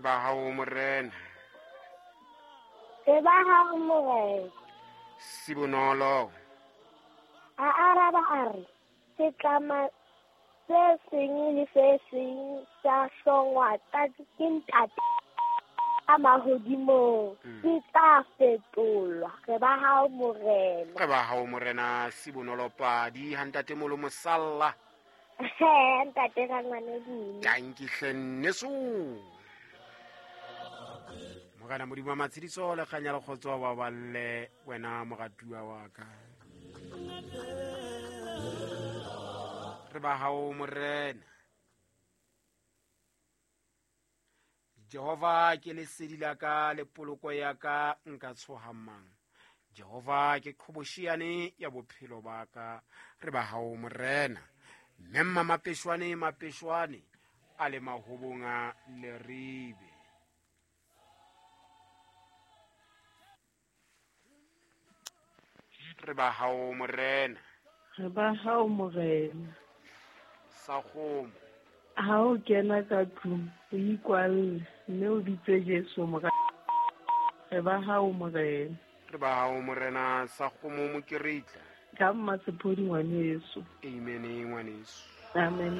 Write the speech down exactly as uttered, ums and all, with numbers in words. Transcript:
ba hao Morena. Re ba hao Morena. Sibonolo. A araba a re, setlama se seng le se seng sa hlongwa ke Ntate a mahodimong, se tla fetolwa. Re ba hao Morena. Re ba hao Morena. Sibonolo padi ha ntate molo mosalla. Ntate rangwane. Tanki hle nneso. Morena Modimo wa matshediso le kganya le kgotso ba balle wena moratuwa wa ka. Re ba hao Morena. Jehova ke lesedi la ka le poloko ya ka, nka tshoha mang? Jehova ke qhobosheane ya bophelo ba ka. Re ba hao Morena. Mme mma mapeshwane mapeshwane a le mahobong a Leribe. Re ba hao Morena. Re ba hao Morena. Sa kgomo. Ha o kena ka tlung, o ikwalle mme o bitse Jesu Morena. Re ba hao Morena. Re ba hao Morena. Sa kgomo mokeritla. Ka mma sephodi ngwaneso. Amen ngwaneso. Amen.